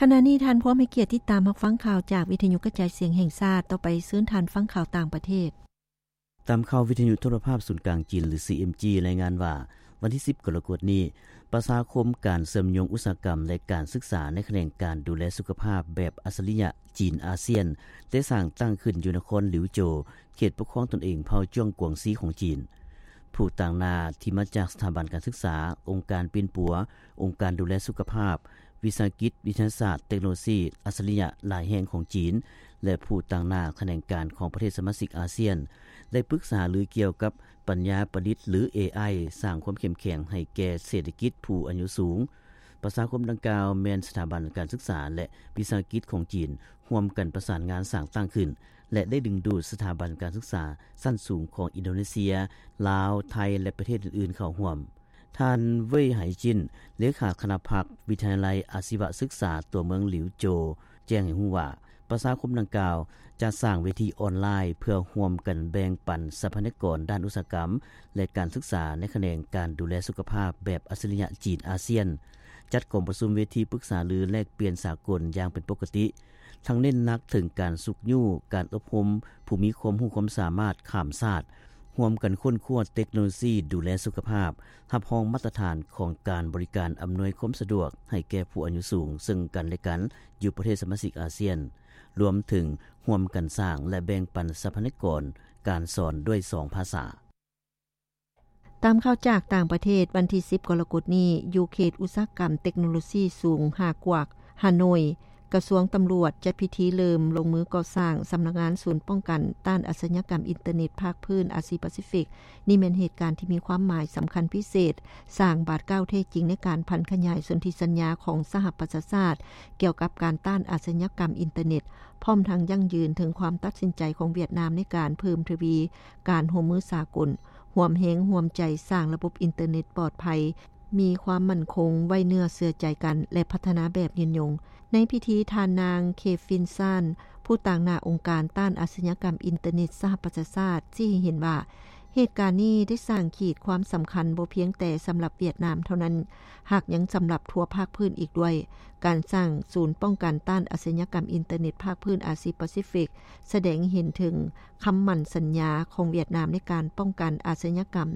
ຂະນະນີ້ທ່ານພວມໃຫ້ກຽດຕິດຕາມຮັບຟັງຂ່າວຈາກວິທະຍຸກະຈາຍສຽງແຫ່ງຊາດ. ຕໍ່ໄປເຊີນທ່ານຟັງຂ່າວຕ່າງປະເທດ. ຕາມຂ່າວວິທະຍຸໂທລະພາບສູນກາງຈີນ ຫຼື ຊີເອັມຈີ ລາຍງານວ່າ ວັນທີສິບ ກໍລະກົດນີ້ ປະຊາຄົມການເຊື່ອມໂຍງອຸດສາຫະກຳ ແລະ ການສຶກສາໃນຂະແໜງການດູແລສຸຂະພາບແບບອັດສະລິຍະຈີນອາຊຽນ ໄດ້ສ້າງຕັ້ງຂຶ້ນຢູ່ນະຄອນຫຼິວໂຈວ ເຂດປົກຄອງຕົນເອງເຜົ່າຈວງກວາງຊີຂອງຈີນ. ຜູ້ຕາງໜ້າທີ່ມາຈາກສະຖາບັນການສຶກສາ, ອົງການປິ່ນປົວ, ອົງການດູແລສຸຂະພາບ, ວິສາຫະກິດວິທະຍາສາດເຕັກໂນໂລຊີອັດສະລິຍະຫຼາຍແຫ່ງຂອງຈີນ ແລະ ຜູ້ຕາງໜ້າຂະແໜງການຂອງປະເທດສະມາຊິກອາຊຽນ ໄດ້ປຶກສາຫາລືກ່ຽວກັບປັນຍາປະດິດ ຫຼື ເອໄອ ສ້າງຄວາມເຂັ້ມແຂງໃຫ້ແກ່ເສດຖະກິດຜູ້ອາຍຸສູງ. ປະຊາຄົມດັ່ງກ່າວແມ່ນສະຖາບັນການສຶກສາ ແລະ ວິສາຫະກິດຂອງຈີນ ຮ່ວມກັນປະສານງານສ້າງຕັ້ງຂຶ້ນ ແລະ ໄດ້ດຶງດູດສະຖາບັນການສຶກສາຊັ້ນສູງຂອງອິນໂດເນເຊຍ, ລາວ, ໄທ ແລະ ປະເທດອື່ນໆເຂົ້າຮ່ວມ. ທ່ານ ເຫວີຍ ໄຫຈິນ ເລຂາຄະນະພັກວິທະຍາໄລອາຊີວະສຶກສາຕົວເມືອງຫຼິວໂຈວ ແຈ້ງໃຫ້ຮູ້ວ່າ ປະຊາຄົມດັ່ງກ່າວຈະສ້າງເວທີອອນລາຍເພື່ອຮ່ວມກັນແບ່ງປັນຊັບພະຍາກອນດ້ານອຸດສາຫະກຳ ແລະ ການສຶກສາໃນຂະແໜງການດູແລສຸຂະພາບແບບອັດສະລິຍະຈີນອາຊຽນ, ຈັດກອງປະຊຸມເວທີປຶກສາຫາລືແລກປ່ຽນສາກົນຢ່າງເປັນປົກກະຕິ, ທັງເນັ້ນໜັກເຖິງການຊຸກຍູ້, ການອົບຮົມຜູ້ມີຄວາມຮູ້ຄວາມສາມາດຂ້າມຊາດ, ຮ່ວມກັນຄົ້ນຄວ້າເຕັກໂນໂລຊີດູແລສຸຂະພາບ, ຮັບຮອງມາດຕະຖານຂອງການບໍລິການອຳນວຍຄວາມສະດວກໃຫ້ແກ່ຜູ້ອາຍຸສູງເຊິ່ງກັນ ແລະ ກັນຢູ່ປະເທດສະມາຊິກອາຊຽນ, ລວມເຖິງຮ່ວມກັນສ້າງ ແລະ ແບ່ງປັນຊັບພະຍາກອນການສອນດ້ວຍສອງພາສາ. ຕາມຂ່າວຈາກຕ່າງປະເທດ, ວັນທີສິບ ກໍລະກົດນີ້, ຢູ່ເຂດອຸດສາຫະກຳເຕັກໂນໂລຊີສູງຮາກວາກ, ຮາໂນຍ, ກະຊວງຕຳຫຼວດຈັດພິທີເລີ່ມລົງມືກໍ່ສ້າງສຳນັກງານສູນປ້ອງກັນຕ້ານອາຊະຍາກຳອິນເຕີເນັດພາກພື້ນອາຊີປາຊີຟິກ. ນີ້ແມ່ນເຫດການທີ່ມີຄວາມໝາຍສຳຄັນພິເສດ, ສ້າງບາດກ້າວແທ້ຈິງໃນການຜັນຂະຫຍາຍສົນທິສັນຍາຂອງສະຫະປະຊາຊາດກ່ຽວກັບການຕ້ານອາຊະຍາກຳອິນເຕີເນັດ, ພ້ອມທັງຢັ້ງຢືນເຖິງຄວາມຕັດສິນໃຈຂອງຫວຽດນາມໃນການເພີ່ມທະວີການຮ່ວມມືສາກົນ, ຮ່ວມແຮງຮ່ວມໃຈສ້າງລະບົບອິນເຕີເນັດປອດໄພ, ມີຄວາມໝັ້ນຄົງ, ໄວ້ເນື້ອເຊື່ອໃຈກັນ ແລະ ພັດທະນາແບບຍືນຍົງ. ໃນພິທີ, ທ່ານນາງ ເຄຟິນ ຊານ ຜູ້ຕາງໜ້າອົງການຕ້ານອາຊະຍາກຳອິນເຕີເນັດສະຫະປະຊາຊາດ ຊີ້ໃຫ້ເຫັນວ່າ ເຫດການນີ້ໄດ້ສ້າງຂີດຄວາມສຳຄັນບໍ່ພຽງແຕ່ສຳລັບຫວຽດນາມເທົ່ານັ້ນ, ຫາກຍັງສຳລັບທົ່ວພາກພື້ນອີກດ້ວຍ. ການສ້າງສູນປ້ອງກັນຕ້ານອາຊະຍາກຳອິນເຕີເນັດພາກພື້ນອາຊີປາຊີຟິກ ສະແດງໃຫ້ເຫັນເຖິງຄຳໝັ້ນສັນຍາຂອງຫວຽດນາມໃນການປ້ອງກັນອາຊະຍາກຳ,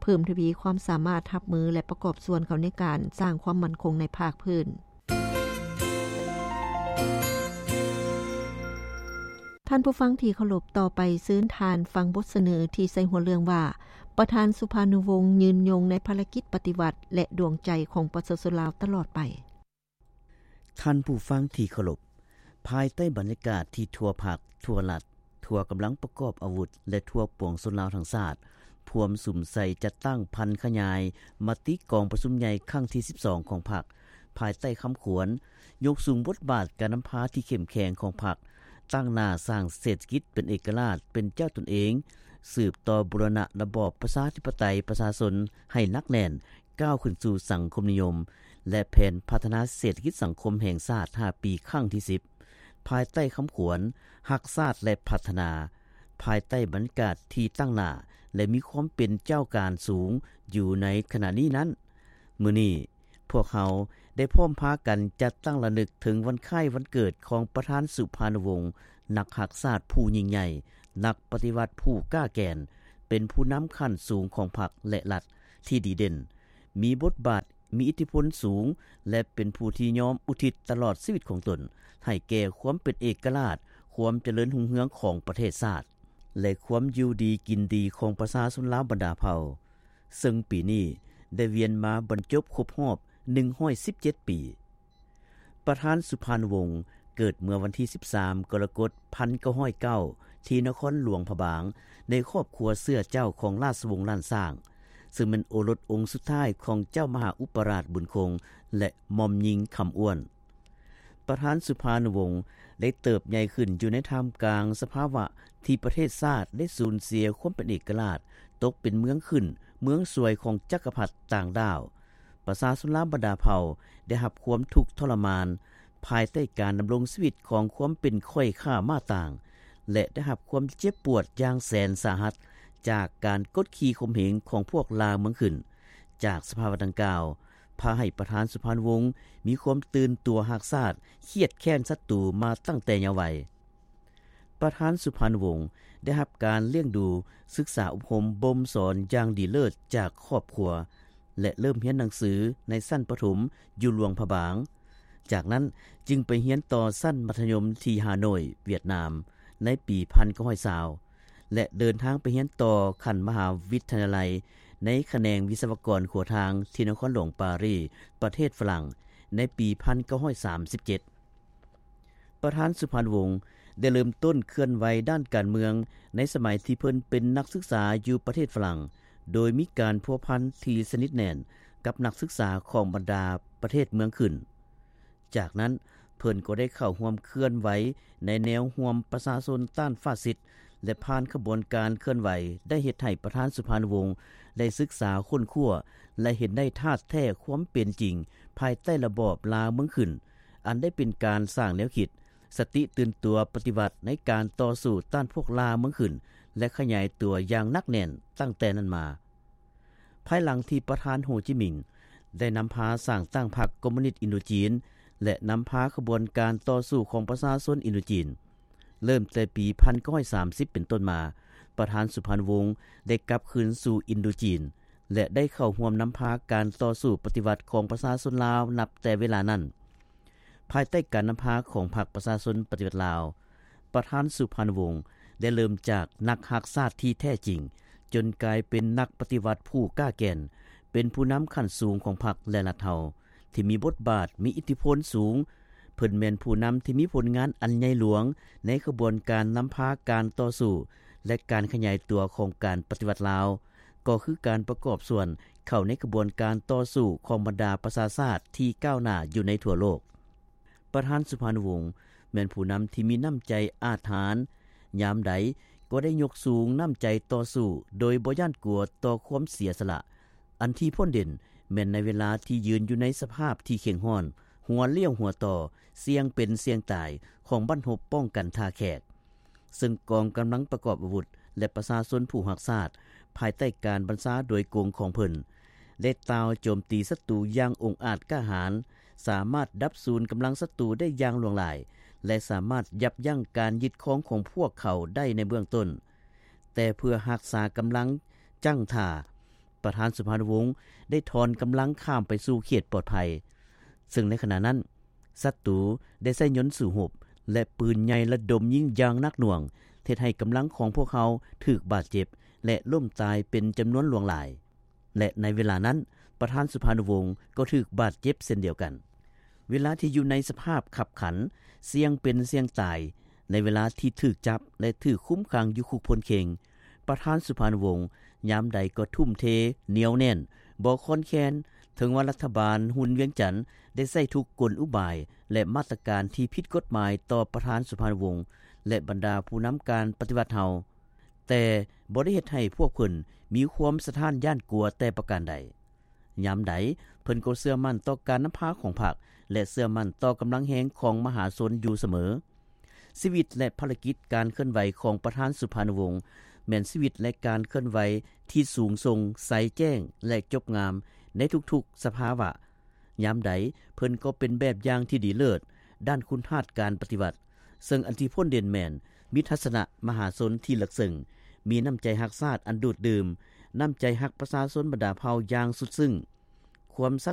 ເພີ່ມທະວີຄວາມສາມາດຮັບມື ແລະ ປະກອບສ່ວນເຂົ້າໃນການສ້າງຄວາມໝັ້ນຄົງໃນພາກພື້ນ. ທ່ານຜູ້ຟັງທີ່ເຄົາລົບ, ຕໍ່ໄປເຊີນທ່ານຟັງບົດສະເໜີທີ່ໃສ່ຫົວເລື່ອງວ່າ ປະທານສຸພານຸວົງຍືນຍົງໃນພາລະກິດປະຕິວັດ ແລະ ດວງໃຈຂອງປະຊາຊົນລາວຕະຫຼອດໄປ. ທ່ານຜູ້ຟັງທີ່ເຄົາລົບ, ພາຍໃຕ້ບັນຍາກາດທີ່ທົ່ວພັກ, ທົ່ວລັດ, ທົ່ວກຳລັງປະກອບອາວຸດ ແລະ ທົ່ວປວງຊົນລາວທັງຊາດ ພວມສຸມໃສ່ຈັດຕັ້ງຜັນຂະຫຍາຍມະຕິກອງປະຊຸມໃຫຍ່ຄັ້ງທີສິບສອງຂອງພັກ, ພາຍໃຕ້ຄຳຂວັນ ຍົກສູງບົດບາດການນຳພາທີ່ເຂັ້ມແຂງຂອງພັກ, ຕັ້ງໜ້າສ້າງເສດຖະກິດເປັນເອກະລາດ, ເປັນເຈົ້າຕົນເອງ, ສືບຕໍ່ບູລະນະລະບອບປະຊາທິປະໄຕປະຊາຊົນໃຫ້ໜັກແໜ້ນ, ກ້າວຂຶ້ນສູ່ສັງຄົມນິຍົມ ແລະ ແຜນພັດທະນາເສດຖະກິດສັງຄົມແຫ່ງຊາດຫ້າປີຄັ້ງທີສິບ ພາຍໃຕ້ຄຳຂວັນ ຮັກຊາດ ແລະ ພັດທະນາ, ພາຍໃຕ້ບັນຍາກາດທີ່ຕັ້ງໜ້າ ແລະ ມີຄວາມເປັນເຈົ້າການສູງຢູ່ໃນຂະນະນີ້ນັ້ນ, ມື້ນີ້ ພວກເຮົາໄດ້ພ້ອມພາກັນຈັດຕັ້ງລະນຶກເຖິງວັນຄ້າຍວັນເກີດຂອງປະທານສຸພານຸວົງ, ນັກຮັກຊາດຜູ້ຍິ່ງໃຫຍ່, ນັກປະຕິວັດຜູ້ກ້າແກ່ນ, ເປັນຜູ້ນຳຂັ້ນສູງຂອງພັກ ແລະ ລັດທີ່ດີເດັ່ນ, ມີບົດບາດ, ມີອິດທິພົນສູງ ແລະ ເປັນຜູ້ທີ່ຍອມອຸທິດຕະຫຼອດຊີວິດຂອງຕົນໃຫ້ແກ່ຄວາມເປັນເອກະລາດ, ຄວາມຈະເລີນຮຸ່ງເຮືອງຂອງປະເທດຊາດ ແລະ ຄວາມຢູ່ດີກິນດີຂອງປະຊາຊົນລາວບັນດາເຜົ່າ. ເຊິ່ງປີນີ້ໄດ້ວຽນມາບັນຈົບຄົບຮອບໜຶ່ງຮ້ອຍສິບເຈັດປີ. ປະທານສຸພານຸວົງເກີດເມື່ອວັນທີສິບສາມ ກໍລະກົດ ພັນເກົ້າຮ້ອຍເກົ້າ ທີ່ນະຄອນຫຼວງພະບາງ ໃນຄອບຄົວເຊື້ອເຈົ້າຂອງລາຊະວົງລ້ານຊ້າງ, ເຊິ່ງແມ່ນໂອລົດອົງສຸດທ້າຍຂອງເຈົ້າມະຫາອຸປະລາດບຸນຄົງ ແລະ ໝ່ອມຍິງຄຳອ້ວນ. ປະທານສຸພານຸວົງໄດ້ເຕີບໃຫຍ່ຂຶ້ນຢູ່ໃນທ່າມກາງສະພາວະທີ່ປະເທດຊາດໄດ້ສູນເສຍຄວາມເປັນເອກະລາດ, ຕົກເປັນເມືອງຂຶ້ນເມືອງສວຍຂອງຈັກກະພັດຕ່າງດ້າວ. ປະຊາຊົນລາວບັນດາເຜົ່າໄດ້ຮັບຄວາມທຸກທໍລະມານ ພາຍໃຕ້ການດຳລົງຊີວິດຂອງຄວາມເປັນຂ້ອຍຂ້າມ້າຕ່າງ ແລະ ໄດ້ຮັບຄວາມເຈັບປວດຢ່າງແສນສາຫັດຈາກການກົດຂີ່ຂົ່ມເຫງຂອງພວກລ່າເມືອງຂຶ້ນ. ຈາກສະພາວະດັ່ງກ່າວ, ພາໃຫ້ປະທານສຸພານຸວົງ ມີຄວາມຕື່ນຕົວຮັກຊາດ, ຄຽດແຄ້ນສັດຕູມາຕັ້ງແຕ່ເຍົາໄວ. ປະທານສຸພານຸວົງ ໄດ້ຮັບການລ້ຽງດູ, ສຶກສາອົບຮົມບົ່ມສອນຢ່າງດີເລີດຈາກຄອບຄົວ ແລະ ເລີ່ມຮຽນໜັງສືໃນຊັ້ນປະຖົມຢູ່ຫຼວງພະບາງ. ຈາກນັ້ນຈຶ່ງໄປຮຽນຕໍ່ຊັ້ນມັດທະຍົມທີ່ຮາໂນຍ ຫວຽດນາມ ໃນປີພັນເກົ້າຮ້ອຍຊາວ ແລະ ເດີນທາງໄປຮຽນຕໍ່ຂັ້ນມະຫາວິທະຍາໄລ ໃນຂະແໜງວິສະວະກອນຂົວທາງທີ່ນະຄອນຫຼວງປາຣີ ປະເທດຝຣັ່ງ ໃນປີພັນເກົ້າຮ້ອຍສາມສິບເຈັດ. ປະທານສຸພານຸວົງ ໄດ້ເລີ່ມຕົ້ນເຄື່ອນໄຫວດ້ານການເມືອງ ໃນສະໄໝທີ່ເພິ່ນເປັນນັກສຶກສາຢູ່ປະເທດຝຣັ່ງ ໂດຍມີການພົວພັນທີ່ສະໜິດແໜ້ນກັບນັກສຶກສາຂອງບັນດາປະເທດເມືອງຂຶ້ນ. ຈາກນັ້ນເພິ່ນກໍໄດ້ເຂົ້າຮ່ວມເຄື່ອນໄຫວໃນແນວຮ່ວມປະຊາຊົນຕ້ານຟາຊິດ ແລະ ຜ່ານຂະບວນການເຄື່ອນໄຫວ ໄດ້ເຮັດໃຫ້ປະທານສຸພານຸວົງ ໄດ້ສຶກສາຄົ້ນຄວ້າ ແລະ ເຫັນໄດ້ທາດແທ້ຄວາມເປັນຈິງ ພາຍໃຕ້ລະບອບລ່າເມືອງຂຶ້ນ ອັນໄດ້ເປັນການສ້າງແນວຄິດ, ສະຕິຕື່ນຕົວປະຕິວັດໃນການຕໍ່ສູ້ຕ້ານພວກລ່າເມືອງຂຶ້ນ ແລະ ຂະຫຍາຍຕົວຢ່າງໜັກແໜ້ນຕັ້ງແຕ່ນັ້ນມາ. ພາຍຫຼັງທີ່ປະທານໂຮຈິມິງ ໄດ້ນຳພາສ້າງຕັ້ງພັກຄອມມູນິດອິນໂດຈີນ ແລະ ນຳພາຂະບວນການຕໍ່ສູ້ຂອງປະຊາຊົນອິນໂດຈີນ ເລີ່ມແຕ່ປີພັນເກົ້າຮ້ອຍສາມສິບເປັນຕົ້ນມາ, ປະທານສຸພານຸວົງ ໄດ້ກັບຄືນສູ່ອິນໂດຈີນ ແລະ ໄດ້ເຂົ້າຮ່ວມນຳພາການຕໍ່ສູ້ປະຕິວັດຂອງປະຊາຊົນລາວນັບແຕ່ເວລານັ້ນ. ພາຍໃຕ້ການນຳພາຂອງພັກປະຊາຊົນປະຕິວັດລາວ, ປະທານສຸພານຸວົງ ໄດ້ເລີ່ມຈາກນັກຮັກຊາດທີ່ແທ້ຈິງ, ຈົນກາຍເປັນນັກປະຕິວັດຜູ້ກ້າແກ່ນ, ເປັນຜູ້ນຳຂັ້ນສູງຂອງພັກ ແລະ ລັດເຮົາ ທີ່ມີບົດບາດ, ມີອິດທິພົນສູງ. ເພິ່ນແມ່ນຜູ້ນຳທີ່ມີຜົນງານອັນໃຫຍ່ຫຼວງໃນຂະບວນການນຳພາການຕໍ່ສູ້ ແລະ ການຂະຫຍາຍຕົວຂອງການປະຕິວັດລາວ, ກໍຄືການປະກອບສ່ວນເຂົ້າໃນຂະບວນການຕໍ່ສູ້ຂອງບັນດາປະຊາຊາດທີ່ກ້າວໜ້າຢູ່ໃນທົ່ວໂລກ. ປະທານສຸພານຸວົງ ແມ່ນຜູ້ນຳທີ່ມີນ້ຳໃຈອາດຫານ, ຍາມໃດກໍໄດ້ຍົກສູງນ້ຳໃຈຕໍ່ສູ້ໂດຍບໍ່ຢ້ານກົວຕໍ່ຄວາມເສຍສະຫຼະ. ອັນທີ່ພົ້ນເດັ່ນແມ່ນໃນເວລາທີ່ຢືນຢູ່ໃນສະພາບທີ່ເຄັ່ງຮ້ອນ, ຫົວລ້ຽວຫົວຕໍ່, ສ່ຽງເປັນສ່ຽງຕາຍຂອງບັ້ນຮົບປ້ອງກັນທ່າແຂກ, ເຊິ່ງກອງກຳລັງປະກອບອາວຸດ ແລະ ປະຊາຊົນຜູ້ຮັກຊາດ ພາຍໃຕ້ການບັນຊາໂດຍກົງຂອງເພິ່ນ ໄດ້ຕ່າວໂຈມຕີສັດຕູຢ່າງອົງອາດກ້າຫານ, ສາມາດດັບສູນກຳລັງສັດຕູໄດ້ຢ່າງຫຼວງຫຼາຍ ແລະ ສາມາດຢັບຢັ້ງການຍຶດຄອງຂອງພວກເຂົາໄດ້ໃນເບື້ອງຕົ້ນ. ແຕ່ເພື່ອຮັກສາກຳລັງຢັ້ງທ່າ, ປະທານສຸພານຸວົງ ໄດ້ຖອນກຳລັງຂ້າມໄປສູ່ເຂດປອດໄພ, ເຊິ່ງໃນຂະນະນັ້ນ ສັດຕູໄດ້ໃຊ້ຍົນສູ້ຮົບ ແລະ ປືນໃຫຍ່ລະດົມຍິງຢ່າງໜັກໜ່ວງ, ເຮັດໃຫ້ກຳລັງຂອງພວກເຮົາຖືກບາດເຈັບ ແລະ ລົ້ມຕາຍເປັນຈຳນວນຫຼວງຫຼາຍ. ແລະ ໃນເວລານັ້ນ ປະທານສຸພານຸວົງ ກໍຖືກບາດເຈັບເຊັ່ນດຽວກັນ. ເວລາທີ່ຢູ່ໃນສະພາບຄັບຂັນ, ສ່ຽງເປັນສ່ຽງຕາຍ, ໃນເວລາທີ່ຖືກຈັບ ແລະ ຖືກຄຸມຂັງຢູ່ຄຸກໂພນເຄັງ, ປະທານສຸພານຸວົງ ຍາມໃດກໍທຸ່ມເທ, ໜຽວແໜ້ນ, ບໍ່ຄອນແຄນ, ເຖິງວ່າລັດຖະບານຮຸນວຽງຈັນ ໄດ້ໃຊ້ທຸກກົນອຸບາຍ ແລະ ມາດຕະການທີ່ຜິດກົດໝາຍຕໍ່ປະທານສຸພານຸວົງ ແລະ ບັນດາຜູ້ນຳການປະຕິວັດເຮົາ, ແຕ່ບໍ່ໄດ້ເຮັດໃຫ້ພວກເພິ່ນມີຄວາມສະທ້ານຢ້ານກົວແຕ່ປະການໃດ. ຍາມໃດເພິ່ນກໍເຊື່ອໝັ້ນຕໍ່ການນຳພາຂອງພັກ ແລະ ເຊື່ອໝັ້ນຕໍ່ກຳລັງແຮງຂອງມະຫາຊົນຢູ່ສະເໝີ. ຊີວິດ ແລະ ພາລະກິດການເຄື່ອນໄຫວຂອງປະທານສຸພານຸວົງ ແມ່ນຊີວິດ ແລະ ການເຄື່ອນໄຫວທີ່ສູງສົ່ງ, ໃສແຈ້ງ ແລະ ຈົບງາມໃນທຸກໆສະພາວະ. ຍາມໃດເພິ່ນກໍເປັນແບບຢ່າງທີ່ດີເລີດດ້ານຄຸນທາດການປະຕິວັດ, ເຊິ່ງອັນທີ່ພົ້ນເດັ່ນແມ່ນມີທັດສະນະມະຫາຊົນທີ່ເລິກເຊິ່ງ, ມີນ້ຳໃຈຮັກຊາດອັນດູດດື່ມ, ນ້ຳໃຈຮັກປະຊາຊົນບັນດາເຜົ່າຢ່າງສຸດຊຶ້ງ, ຄວາມສັດ